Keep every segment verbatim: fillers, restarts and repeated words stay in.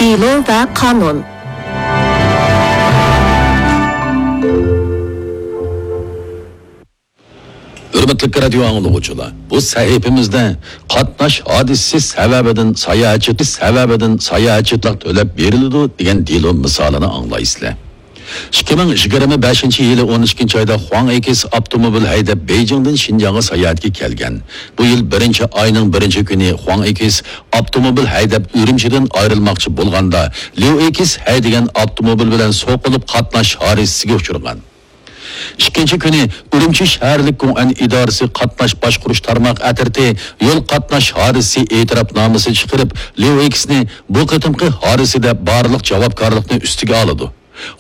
دېلو ۋە قانۇن. ھۆرمەتلىك رادىيو ئاڭلىغۇچىلار، بۇ سەھىپىمىزدە قاتناش ھادىسىسى سەۋەبىدىن ساياھەتچى، سەۋەبىدىن ساياھەتچىلىك تۆلەپ بېرىلىدۇ دېگەن دېلو مىسالىنى ئاڭلايسىلەر. ئىككى مىڭ يىگىرمە بەشىنچى يىلى ئون ئىككىنچى ئايدا خۇاڭ ئېكس ئاپتوموبىل ھەيدەپ بېيجىڭدىن شىنجاڭغا ساياھەتكە كەلگەن. بۇ يىل بىرىنچى ئاينىڭ بىرىنچى كۈنى خۇاڭ ئېكس ئاپتوموبىل ھەيدەپ ئۈرۈمچىدىن ئايرىلماقچى بولغاندا، ليۇ ئېكس ھەيدىگەن ئاپتوموبىل بىلەن سوقۇلۇپ قاتناش ھادىسىسىگە ئۇچرىغان. ئىككىنچى كۈنى ئۈرۈمچى شەھەرلىك گۇڭئەن ئىدارىسى قاتناش باشقۇرۇش تارماق ئەترىتى يول قاتناش ھادىسىسى ئېتىراپنامىسى چىقىرىپ، ليۇ ئېكسنى بۇ قېتىمقى ھادىسىدە بارلىق جاۋابكارلىقنى ئۈستىگە ئالىدۇ.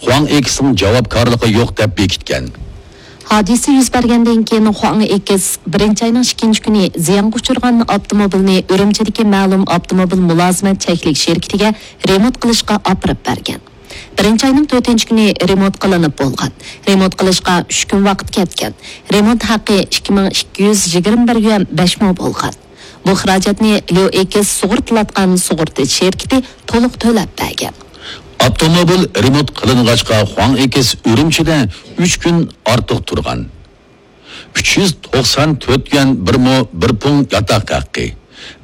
خۇاڭ ئېكسنىڭ جاۋابكارلىقى يوق دەپ بېكىتكەن. ھادىسە يۈز بەرگەندىن كېيىن، خۇاڭ ئېكس بىرىنچى ئاينىڭ ئىككىنچى كۈنى زىيانغا ئۇچرىغان ئاپتوموبىلنى ئۈرۈمچىدىكى مەلۇم ئاپتوموبىل مۇلازىمەت چەكلىك شىركىتىگە رېمونت قىلىشقا ئاپىرىپ بەرگەن. بىرىنچى ئاينىڭ تۆتىنچى كۈنى رېمونت قىلىنىپ بولغان. رېمونت قىلىشقا ئۈچ كۈن ۋاقىت كەتكەن. رېمونت ھەققى ئىككى مىڭ ئىككى يۈز يىگىرمە بىر يۈەن بەش مو بولغان. بۇ خىراجەتنى ليۇ ئېكس سۇغۇرتىلاتقان سۇغۇرتا شىركىتى تولۇق تۆلەپ بەرگەن. ئاپتوموبىل رېمونت قىلىنغاچقا، خۇاڭ ئېكس ئۈرۈمچىدە ئۈچ كۈن ئارتۇق تۇرغان. ئۈچ يۈز توقسان تۆت يۈەن بىر مو بىر پۇڭ ياتاق ھەققى،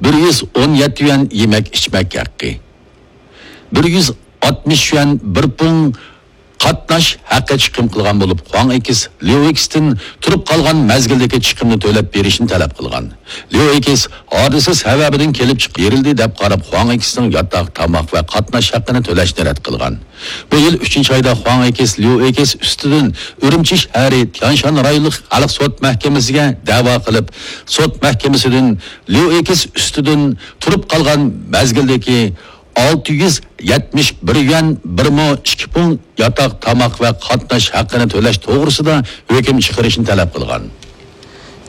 بىر يۈز ئون يەتتە يۈەن يېمەك ئىچمەك ھەققى، بىر يۈز ئاتمىش يۈەن بىر پۇڭ قاتناش ھەققى چىقىم قىلغان بولۇپ، خۇاڭ ئېكس ليۇ ئېكستىن تۇرۇپ قالغان مەزگىلدىكى چىقىمنى تۆلەپ بېرىشنى تەلەپ قىلغان. ليۇ ئېكس ھادىسە سەۋەبىدىن كېلىپ چىقىپ بېرىلدى دەپ قاراپ، خۇاڭ ئېكسنىڭ ياتاق، تاماق ۋە قاتناش ھەققىنى تۆلەشنى رەت قىلغان. بۇ يىل ئۈچىنچى ئايدا خۇاڭ ئېكس ليۇ ئېكس ئۈستىدىن ئۈرۈمچى شەھىرى تيانشان رايونلۇق خەلق سوت مەھكىمىسىگە دەۋا قىلىپ، سوت مەھكىمىسىدىن ليۇ ئېكس ئۈستىدىن تۇرۇپ قالغان مەزگىلدىكى ئالتە يۈز يەتمىش بىر يۈەن بىر مو ئىككى پۇڭ ياتاق، تاماق ۋە قاتناش ھەققىنى تۆلەش توغرىسىدا ھۆكۈم چىقىرىشنى تەلەپ قىلغان.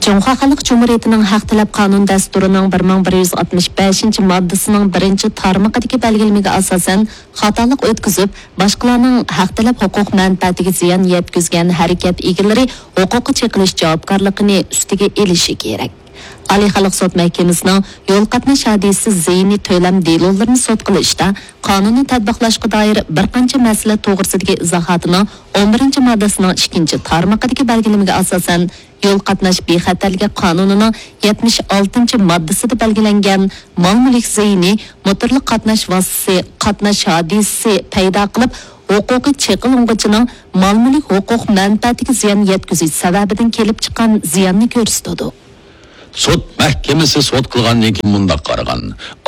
جۇڭخۇا خەلق جۇمھۇرىيىتىنىڭ ھەق تەلەپ قانۇن دەستۇرىنىڭ بىر مىڭ بىر يۈز ئاتمىش بەشىنچى ماددىسىنىڭ بىرىنچى تارمىقىدىكى بەلگىلىمىگە ئاساسەن، خاتالىق ئۆتكۈزۈپ، باشقىلارنىڭ ھەق تەلەپ ھوقۇق مەنپەئەتىگە زىيان يەتكۈزگەن ھەرىكەت ئىگىلىرى ھوقۇققا چېقىلىش جاۋابكارلىقىنى ئۈستىگە ئېلىشى كېرەك. ئالىي خەلق سوت مەھكىمىسىنىڭ يول قاتناش ھادىسىسى زىيىنى تۆلەم دېلولىرىنى سوت قىلىشتا قانۇننى تەتبىقلاشقا دائىر بىر قانچە مەسىلە توغرىسىدىكى ئىزاھاتىنىڭ ئون بىرىنچى ماددىسىنىڭ ئىككىنچى تارمىقىدىكى بەلگىلىمىگە ئاساسەن، يول قاتناش بىخەتەرلىكى قانۇنىنىڭ يەتمىش ئالتىنچى ماددىسىدا بەلگىلەنگەن مال مۈلۈك زىيىنى موتورلۇق قاتناش ۋاسىتىسى قاتناش ھادىسىسى پەيدا قىلىپ، ھوقۇقى چېقىلغۇچىنىڭ مال مۈلۈك ھوقۇق مەنپەئەتىگە زىيان يەتكۈزۈش سەۋەبىدىن كېلىپ چىققان زىياننى كۆرسىتىدۇ. سوت مەھكىمىسى سوت قىلغاندىن كېيىن مۇنداق قارىغان: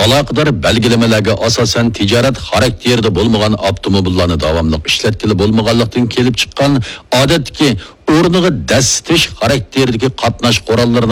ئالاقىدار بەلگىلىمىلەرگە ئاساسەن، تىجارەت خاراكتېرىدا بولمىغان ئاپتوموبىللارنى داۋاملىق ئىشلەتكىلى بولمىغانلىقتىن كېلىپ چىققان، ئادەتتىكى ئورنىغا دەسسىتىش خاراكتېرىدىكى قاتناش قوراللىرىنىڭ